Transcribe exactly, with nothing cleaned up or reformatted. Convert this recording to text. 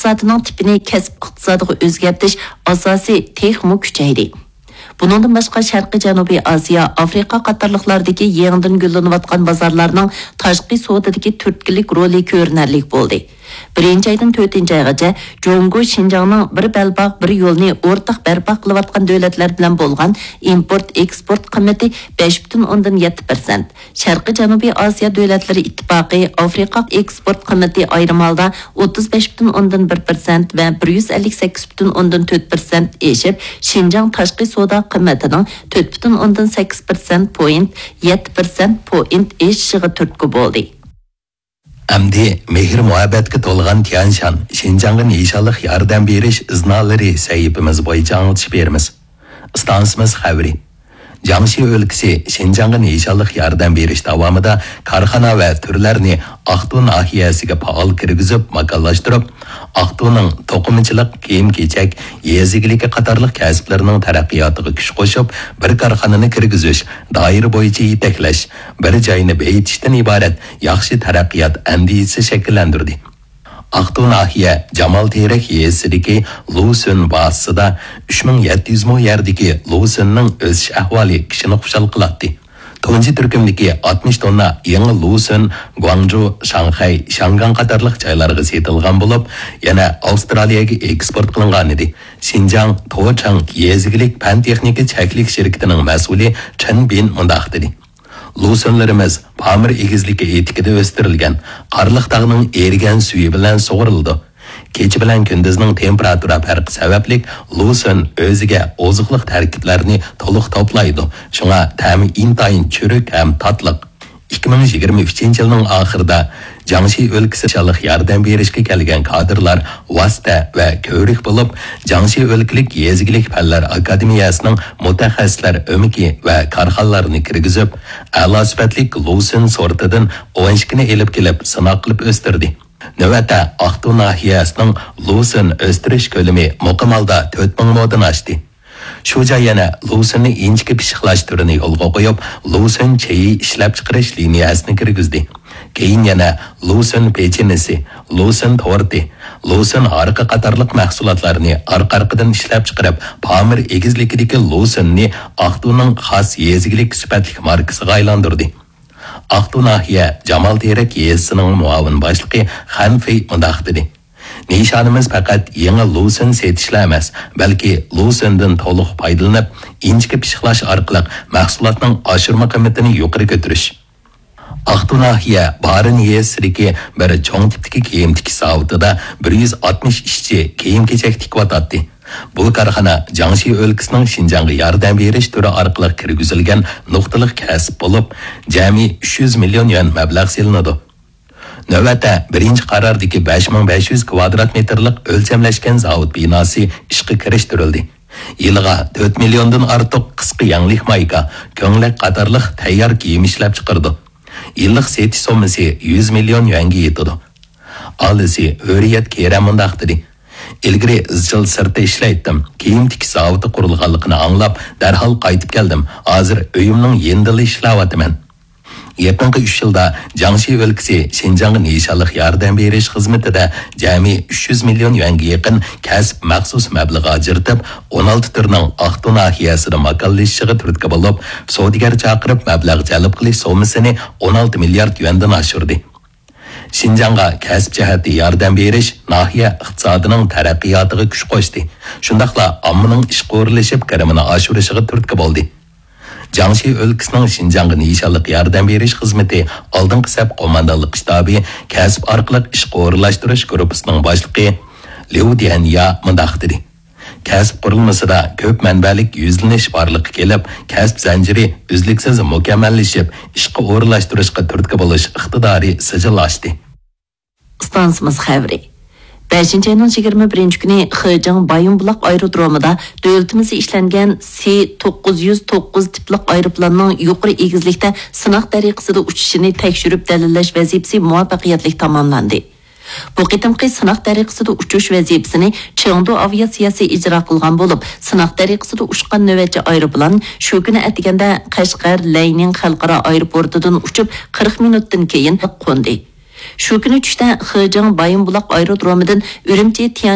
ئىقتىسادىنىڭ تىپىنى كەسىپ ئىقتىسادىغا ئۆزگەرتىش ئاساسى تېخىمۇ كۈچەيدى. بۇنىڭدىن باشقا، شەرقىي جەنۇبىي ئاسىيا، ئافرىقا قاتارلىقلاردىكى يېڭىدىن گۈللىنىۋاتقان بازارلارنىڭ تاشقى سودىدىكى تۈرتكىلىك رولى كۆرۈنەرلىك بولدى. بىرىنچى ئايدىن تۆتىنچى ئايغىچە جۇڭگو شىنجاڭنىڭ بىر بەلباغ، بىر يولنى ئورتاق بەرپا قىلىۋاتقان دۆلەتلەر بىلەن بولغان ئىمپورت ئېكسپورت قىممىتى بەش پۈتۈن ئوندىن يەتتە پىرسەنت، شەرقىي جەنۇبىي ئاسىيا دۆلەتلىرى ئىتتىپاقى ئافرىقا ئېكسپورت قىممىتى ئايرىم ھالدا ئوتتۇز بەش پۈتۈن ئوندىن بىر پىرسەنت ۋە بىر يۈز ئەللىك سەككىز پۈتۈن ئوندىن تۆت پىرسەنت ئېشىپ، شىنجاڭ تاشقى سودا قىممىتىنىڭ تۆت پۈتۈن ئوندىن سەككىز پىرسەنت پوينت، يەتتە پىرسەنت پوينت ئېشىشىغا تۈرتكە بولدى. ئەمدى مېھىر-مۇھەببەتكە تولغان تيەنشان شىنجاڭغا نىشانلىق ياردەم بېرىش ئىزنالىرى سەھىپىمىز بويىچە ئاڭلىتىش بېرىمىز. ئىستانسىمىز خەۋىرى. جياڭشى ئۆلكىسى شىنجاڭغا نىشانلىق ياردەم بېرىش داۋامىدا كارخانا ۋە تۈرلەرنى ئاقتۇ ناھىيەسىگە پائال كىرگۈزۈپ ماكانلاشتۇرۇپ، ئاقتۇنىڭ توقۇمىچىلىق، كىيىم-كېچەك، يېزا ئىگىلىكى قاتارلىق كەسىپلىرىنىڭ تەرەققىياتىغا كۈچ قوشۇپ، بىر كارخانىنى كىرگۈزۈش، دائىرە بويىچە يېتەكلەش، بىر جاينى بېيىتىشتىن ئىبارەت ياخشى تەرەققىيات ئەندىزىسى شەكىللەندۈردى. ئاقتۇ ناھىيە جامال تېرەك يېزىسىدىكى لۇسۈن بازىسىدا ئۈچ مىڭ يەتتە يۈز مو يەردىكى لۇسۈننىڭ ئۆسۈش ئەھۋالى كىشىنى خۇشال قىلاتتى. تۇنجى تۈركۈمدىكى ئاتمىش توننا يېڭى لۇسۈن گۇاڭجۇ، شاڭخەي، شياڭگاڭ قاتارلىق جايلارغا سېتىلغان بولۇپ، يەنە ئاۋسترالىيەگە ئېكسپورت قىلىنغانىدى. شىنجاڭ توچاڭ يېزا ئىگىلىك پەن-تېخنىكا چەكلىك شىركىتىنىڭ مەسئۇلى چېن بىن مۇنداق دېدى: لۇسۈنلىرىمىز پامىر ئېگىزلىكى ئېتىكىدە ئۆستۈرۈلگەن، قارلىق تاغنىڭ ئېرىگەن سۈيى بىلەن سۇغۇرۇلىدۇ. كېچە بىلەن كۈندۈزنىڭ تېمپېراتۇرا پەرقى سەۋەبلىك لۇسۈن ئۆزىگە ئوزۇقلۇق تەركىبلەرنى تولۇق توپلايدۇ، شۇڭا تەمى ئىنتايىن چۈرۈك ھەم تاتلىق. ئىككى مىڭ يىگىرمە ئۈچىنچى يىلنىڭ ئاخىرىدا جياڭشى ئۆلكىسى نىشانلىق ياردەم بېرىشكە كەلگەن كادىرلار ۋاسىتە ۋە كۆۋرۈك بولۇپ، جياڭشى ئۆلكىلىك يېزا ئىگىلىك پەنلەر ئاكادېمىيەسىنىڭ مۇتەخەسسىسلەر ئۆمىكى ۋە كارخانىلارنى كىرگۈزۈپ، ئەلا سۈپەتلىك لۇسۈن سورتىدىن ئون ئىككىنى ئېلىپ كېلىپ سىناق قىلىپ ئۆستۈردى. نۆۋەتتە ئاقتۇ ناھىيەسىنىڭ لۇسۈن ئۆستۈرۈش كۆلىمى مۇقىم ھالدا تۆت مىڭ مودىن ئاشتى. شۇ جاي يەنە لۇسۈننى ئىنچىكە پىششىقلاش تۈرىنى يولغا قويۇپ، لۇسۈن چېيى ئىشلەپچىقىرىش لىنىيەسىنى كىرگۈزدى. كېيىن يەنە لۇسۈن پېچىنىسى، لۇسۈن تورتى، لۇسۈن ھارىقى قاتارلىق مەھسۇلاتلارنى ئارقا-ئارقىدىن ئىشلەپچىقىرىپ، پامىر ئېگىزلىكىدىكى لۇسۈننى ئاقتۇنىڭ خاس يېزا ئىگىلىك سۈپەتلىك ماركىسىغا ئايلاندۇردى. ئاقتۇ ناھىيە جامال تېرەك يېزىسىنىڭ مۇئاۋىن باشلىقى خەن فېي مۇنداق دېدى: نىشانىمىز پەقەت يېڭى لۇسۈن سېتىشلا ئەمەس، بەلكى لۇسۈندىن تولۇق پايدىلىنىپ، ئىنچىكە پىششىقلاش ئارقىلىق مەھسۇلاتنىڭ ئاشۇرما قىممىتىنى يۇقىرى كۆتۈرۈش. ئاقتۇ ناھىيە بارىن يېزىسىدىكى بىر چوڭ تىپتىكى كىيىم تىكىش زاۋۇتىدا بىر يۈز ئاتمىش ئىشچى كىيىم-كېچەك تىكىۋاتاتتى. بۇ كارخانا جياڭشى ئۆلكىسىنىڭ شىنجاڭغا ياردەم بېرىش تۈرى ئارقىلىق كىرگۈزۈلگەن نۇقتىلىق كەسىپ بولۇپ، جەمئىي ئۈچ يۈز مىليون يۈەن مەبلەغ سېلىنىدۇ. نۆۋەتتە بىرىنچى قارادىكى بەش مىڭ بەش يۈز كۋادرات مېتىرلىق ئۆلچەملەشكەن زاۋۇت بىناسى ئىشقا كىرىشتۈرۈلدى. يىلىغا تۆت مىليوندىن ئارتۇق قىسقا يەڭلىك مايكا، كۆڭلەك قاتارلىق تەييار كىيىم ئىشلەپچىقىرىدۇ. يىللىق سېتىش سوممىسى يۈز مىليون يۈەنگە يېتىدۇ. ئالىسى ھۆرىيەت كېرەم مۇنداق دېدى: ئىلگىرى ئىزچىل سىرتتا ئىشلەيتتىم. كىيىم تىكىش زاۋۇتى قۇرۇلغانلىقىنى ئاڭلاپ، دەرھال قايتىپ كەلدىم. ھازىر ئۆيۈمنىڭ يېنىدىلا ئىشلەۋاتىمەن. يېقىنقى ئۈچ يىلدا جياڭشى ئۆلكىسى شىنجاڭغا نىشانلىق ياردەم بېرىش خىزمىتىدە جەمئىي ئۈچ يۈز مىليون يۈەنگە يېقىن كەسىپ مەخسۇس مەبلىغى ئاجرىتىپ، ئون ئالتە تۈرنىڭ ئاقتۇ ناھىيەسىدە ماكانلىشىشىغا تۈرتكە بولۇپ، سودىگەر چاقىرىپ مەبلەغ جەلپ قىلىش سوممىسىنى ئون ئالتە مىليارد يۈەندىن ئاشۇردى. شىنجاڭغا كەسىپ جەھەتتە ياردەم بېرىش ناھىيە ئىقتىسادىنىڭ تەرەققىياتىغا كۈچ قوشتى، شۇنداقلا ئاممىنىڭ ئىشقا ئورۇنلىشىپ، كىرىمىنى ئاشۇرۇشىغا تۈرتكە بولدى. جياڭشى ئۆلكىسىنىڭ شىنجاڭغا نىشانلىق ياردەم بېرىش خىزمىتى ئالدىنقى سەپ قوماندانلىق شتابى كەسىپ ئارقىلىق ئىشقا ئورۇنلاشتۇرۇش گۇرۇپپىسىنىڭ باشلىقى ليۇ ديەنيا مۇنداق دېدى: كەسىپ قۇرۇلمىسىدا كۆپ مەنبەلىك يۈزلىنىش بارلىققا كېلىپ، كەسىپ زەنجىرى ئۈزلۈكسىز مۇكەممەللىشىپ، ئىشقا ئورۇنلاشتۇرۇشقا تۈرتكە بولۇش ئىقتىدارى سىجىللاشتى. ئىستانسىمىز خەۋىرى. بەشىنچى ئاينىڭ يىگىرمە بىرىنچى كۈنى خېجېڭ بايىنبۇلاق ئايرودرومىدا دۆلىتىمىزدە ئىشلەنگەن سى توققۇز يۈز توققۇز تىپلىق ئايروپىلاننىڭ يۇقىرى ئېگىزلىكتە سىناق تەرىقىسىدە ئۇچۇشىنى تەكشۈرۈپ دەلىللەش ۋەزىپىسى مۇۋەپپەقىيەتلىك تاماملاندى. بۇ قېتىمقى سىناق تەرىقىسىدە ئۇچۇش ۋەزىپىسىنى چېڭدۇ ئاۋىئاتسىيەسى ئىجرا قىلغان بولۇپ، سىناق تەرىقىسىدە ئۇچقان نۆۋەتچى ئايروپىلان شۇ كۈنى ئەتىگەندە قەشقەر لەينىڭ خەلقئارا ئايروپورتىدىن ئۇچۇپ، قىرىق مىنۇتتىن كېيىن قوندى. شۇ كۈنى چۈشتە خېجېڭ بايىنبۇلاق ئايرودرومىدىن ئۈرۈمچى تيەن